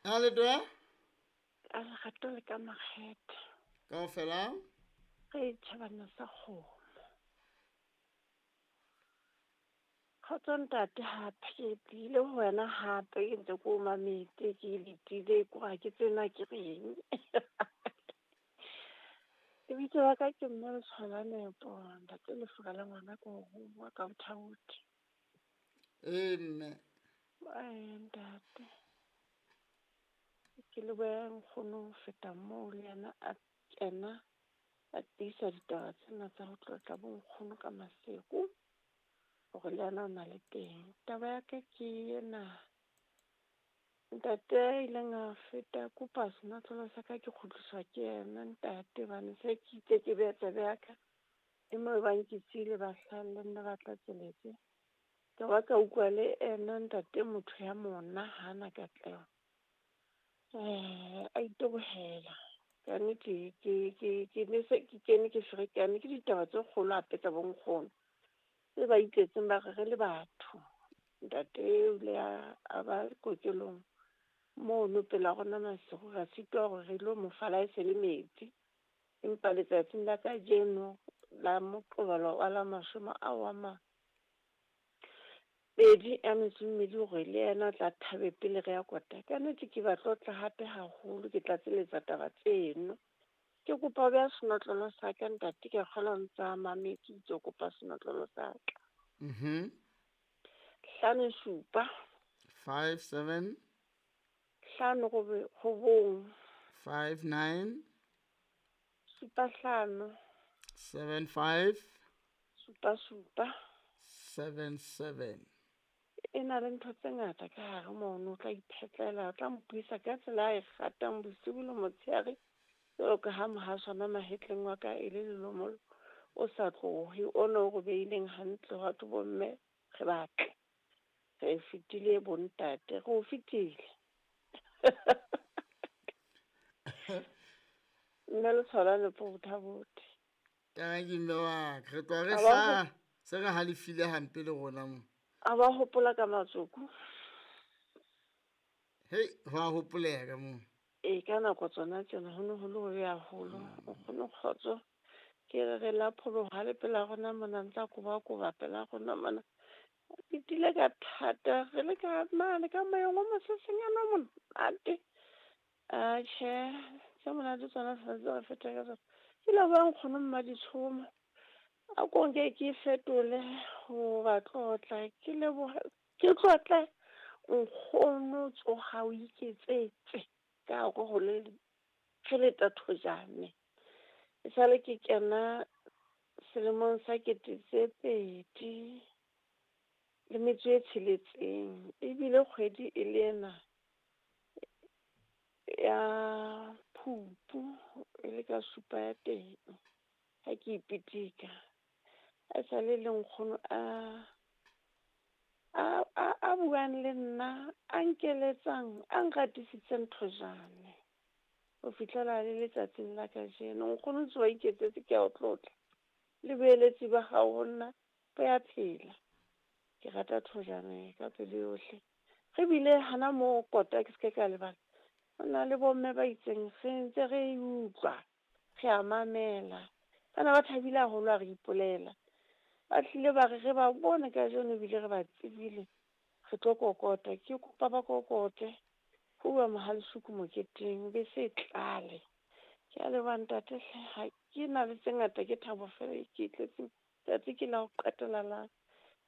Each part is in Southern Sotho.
A le twe? Ka lerato le ka makgethe. Kaofela? Re tjhabana sa kgomo. Kgotso ntate hape ke tlile ho wena hape ke ntse ke o mametse ke letile ko ha ke tsena ke reng. Lebitso la ka ke mme Letshwala Nepo, ntate Lefura la ngwana ke o rongwa ka bothaothi. Ee mme. Ee ntate. Ke lebohe nkgono ho feta moo le yena a kena a tiisa ditaba tsena tsa ho tlotla bo nkgono ka maseko hore le yena o na le teng. Taba ya ka ke ena, ntate a ileng a feta kopa senotlolo sa ka ke kgutliswa ke yena ntate hobane se ke itse ke beha tsebe ya ka e mo bang ke siile ba hlaha le nna ba tlatseletse. Ka ba ka utlwa le ena ntate motho ya mona hana katleho. A itebohela. Ka nnete ke ne se ke kene ke ferekane ke ditaba tse kgolo hape tsa bonkgono. Tse ba itletseng ba re re le batho. Ntate o ile a ba kokelong mono pela rona masigo ra sitwa hore re lo mo fa le se le metsi. Empa letsatsing la kajeno la Moqebelo wa la mashome ao a mabedi a metso e mmedi hore le yena o tla thabe pele re ya kota. Ka nnete ke ba tlotla hape haholo ke tlatseletsa taba tseno. Ke kopa ho beha senotlolo sa ka ntate ke a kgolwa o ntsa mametse o itse o kopa senotlolo sa ka. 5 7. 5 7. 5 9. 5 9. 7 5. 7 5. 7 7. 7 7. E na le ntho tse ngata ka hare mono, o tla iphetlela, o tla mpuisa ka tsela a e ratang bosibu le motshehare. Jwalo ka ha mohaswana mahetleng wa ka e le lelomolo o sa tlohe, ona o re beileng hantle hwa thwe bomme re batle. Re fetile bontate, re o fetile. Mme Letshwala Nepo botha-bothe. Tanki mme wa ka, re tloha re hlaha se re halefile hampe le rona mo. A ba hopola ka matsoko. Hei, ho a hopoleha ka moo. Ee, ka nako tsona tsena ho ne ho le hobe haholo. Nkgono kgotso ke re re la pholoha le pela rona mona ntsa koba-koba pela rona mona. Ke tile ka thata re le ka mane ka moyeng o mosesenyana o monate. Atjhe, tse monate tsona tshwanetse re fete ka tsona. Ke leboha nkgono Mmaditshomo. A ko nke ke fetole ho ba tlotla ke leboha ke tlotle nkgono tsoha o iketsetse ka hare ho le re le thojane. E sale ke kena selemong sa 2006 ebile kgwedi e le ena ya Phupu e le ka 7 ya teng ha ke ipitika. A sale le nkgono a buang le nna a nkeletsang a nratisitseng thojane ho fihlela le letsatsing la kajeno. Nkgono ntse wa iketsetse ke a o tlotla le boeletsi ba hao ho nna bo ya phela. Ke rata thojane ka pelo yohle. Re bile hana moo kota ke se ke ka lebala. Ho na le bomme ba itseng re ntse re e utlwa, re a mamela. Bana ba thabile haholo ha re ipolela. Ba tlile ba re re ba bone kajeno ebile re ba tsebile. Re tlo kokota, ke kopa ba kokote. Ho bua Mohalesuku moketeng bese e tlale. Ke a leboha ntate hle, ha ke na le tse ngata ke thabo fela e ke tletseng. Tsatsi ke la ho qetela la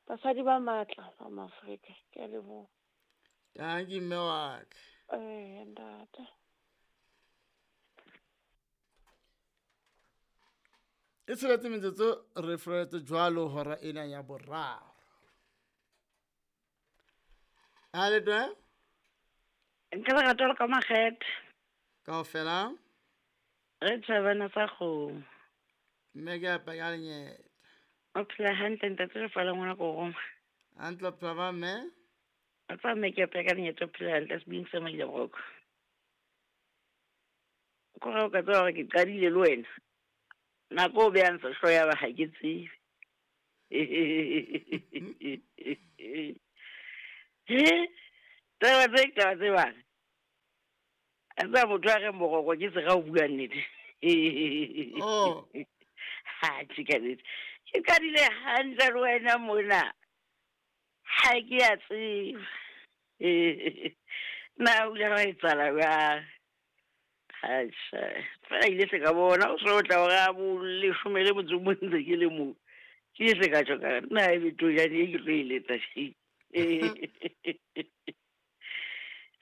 basadi ba matla ba Maafrika. Ke a leboha. Tanki mme wa ka. Ee ntate. E tsheletse metsotso re furaletse jwalo hora ena ya boraro. A le twe? Nka lerato le ka makgethe. Kaofela? Re tjhabana sa kgomo. Mme ke apa ka lenyeta. O phela hantle ntate Lefala ngwana ko roma. Hantle o phela ba mme? A tsa mme ke apa ka lenyeta o phela hantle sebeng sa maile broko. Ko re o ka tseba hore ke qadile le wena. Nako o behang sehloho ya ba ha ke tsebe. He, taba tse taba tse bang. A tseba motho a reng boroko ke sera o bua nnete. Oh. Ha tjhe ka nnete. Ke qadile hantle le wena mona. Ha ke a tseba. Na o ile wa etsahala jwang? Atjha, fela ile se ka bona o so tla hora bo leshome le motso o mong ntse ke le moo. Ke ile se ka tjho ka re na ebe tojane e ke tlo e letsa tje.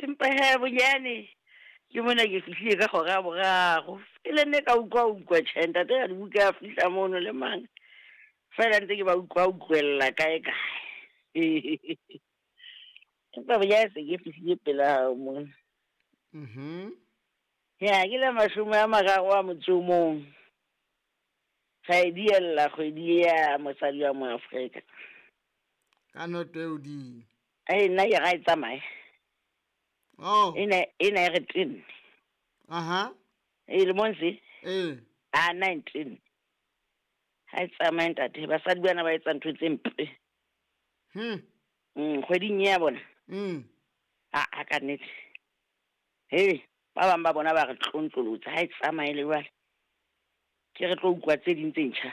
Empa he bonyane ke mona ke fihlile ka hora ya boraro. Pele nne ka utlwa utlwa tjhe ntate a dibuka a fihla mono le mang. Fela ntse ke ba utlwa utlwella kae kae. Empa bonyane se ke fihlile pela hao mona. Mhm. Ya ke la 30 a motso o mong. Ra e diella kgwedi ya mosadi wa Moafrika. Ka noto e hodimo. Ee, nna ke ra e tsamaye. Oh. Ena ena e re tenne. Aha. E lemong se? Ee. A 19. Ha e tsamaye ntate, basadi bana ba etsa ntho tse mpe. Kgweding ya bona. A a ka nnete. He, ba bang ba bona ba re tlontlolotse, ha e tsamaye le jwale. Ke re tlo utlwa tse ding tse ntjha.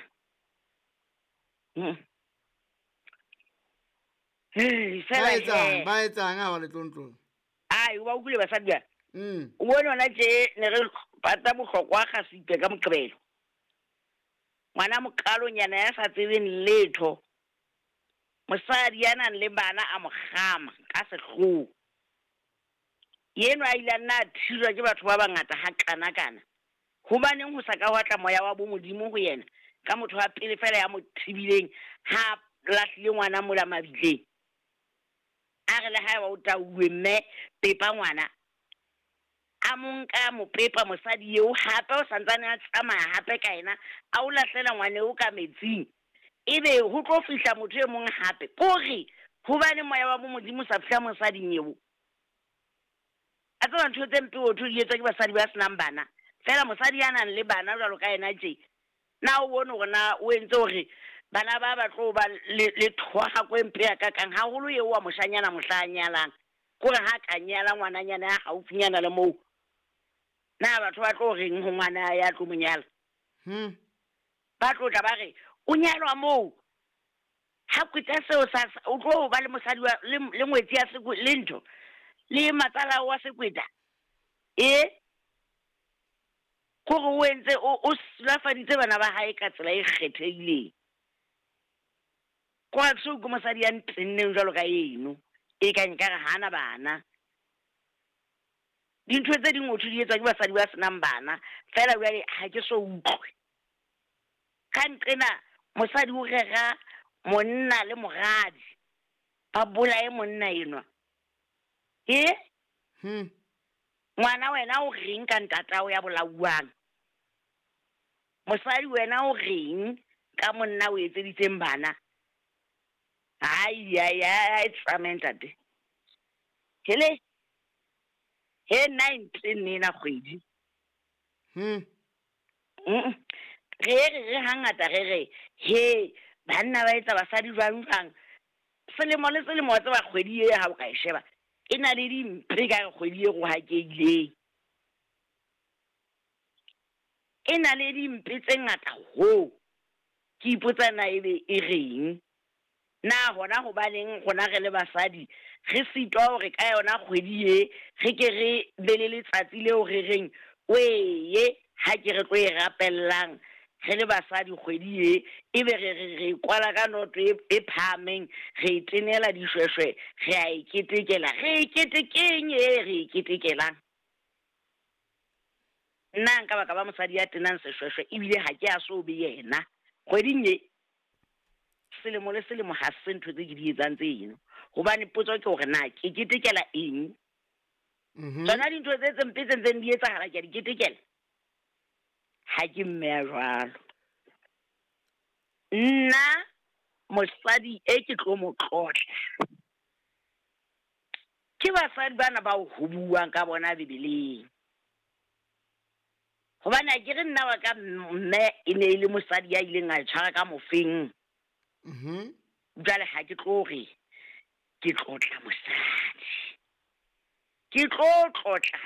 Hey, Ba fela etsang, he. ba etsang ha ba le tlontlolo? Ai, o ba utlwile basadi ba? O bone hona tje ne re pata bohlokwa kgasipe ka Moqebelo. Ngwana moqalonyana ya sa tsebeng letho. Mosadi ya nang le bana a mo kgama ka sehloho. Yenwa a ile a nna a thijwa ke batho ba bangata ha kana-kana. Hobaneng ho sa ka hwa tla moya wa bomodimo ho yena ka motho wa pele fela ya mo thibileng ha a lahlile ngwana mola mabitleng? A re le haeba o tauwe mme pepa ngwana. A mo nka a mo pepa mosadi eo hape o santsane a tsamaya hape ka yena a o lahlela ngwana eo ka metsing. Ebe ho tlo fihla motho e mong hape. Kore hobaneng moya wa bomodimo o sa fihla mosading eo? A tseba ntho tse mpe ho thwe di etswa ke basadi ba senang bana. Fela mosadi ya nang le bana jwalo ka yena tje, na o bone hore na o entse hore bana ba ba tlo ba le le thohako e mpe hakakang, haholo eo wa moshanyana mohla a nyalang. Kore ha ka nyala ngwananyana ya haufinyana le moo, na batho ba tlo reng ho ngwana ya tlo mo nyala? Ba tlo tla ba re o nyalwa moo. Ha kweta seo sa o tlo ba le mosadi wa le le ngwetsi ya sekwe le ntho le matsala wa sekweta. E kore o entse o o silafaditse bana ba hae ka tsela e kgethehileng. Kwa so ke mosadi ya ntenneng jwalo ka eno, e ka nkare hana bana. Dintho tse ding ho thwe di etswa ke basadi ba senang bana, fela jwale ha ke so utlwe. Ka nqena mosadi o rera monna le moradi, ba bolaye monna enwa. E? Ngwana wena o reng ka ntatao ya bolauwang? Mosadi wena o reng ka monna o etseditseng bana? Ai ai ai tsamaye ntate. Hele. He 19 ena kgwedi. Re re re hangata re re he banna ba etsa basadi jwang jwang. Selemo le selemo wa tseba kgwedi e ha o ka e sheba e na le dimpe ka kgwedi e rohakehileng. E na le dimpe tse ngata ho. Ke ipotsa na ebe e reng. Na hona hobaneng rona re le basadi re sitwa hore ka yona kgwedi e re ke re be le letsatsi leo re reng weye ha ke re tlo e rapellang re le basadi kgwedi e ebe re re re kwala ka noto e phahameng re e tenela dishweshwe re a e ketekela. Re e ketekeng e re e ketekelang? Nna nka baka ba mosadi ya tenang seshweshwe ebile ha ke a so be yena kgweding e. Selemo le selemo ha se ntho tse ke di etsang tse eno. Hobane potso ke hore na ke ketekela eng? Tsona dintho tse tse mpe tse ntseng di etsahala ke a di ketekela. Ha ke mme ya jwalo. Nna mosadi e ke tlo mo tlotla. Ke basadi bana bao ho buuwang ka bona Bibeleng. Hobane ha ke re nna wa ka mme e ne e le mosadi ya ileng a tshwara ka mofeng. Jwale ha ke tlo re ke tlotla mosadi. Ke tlo tlotla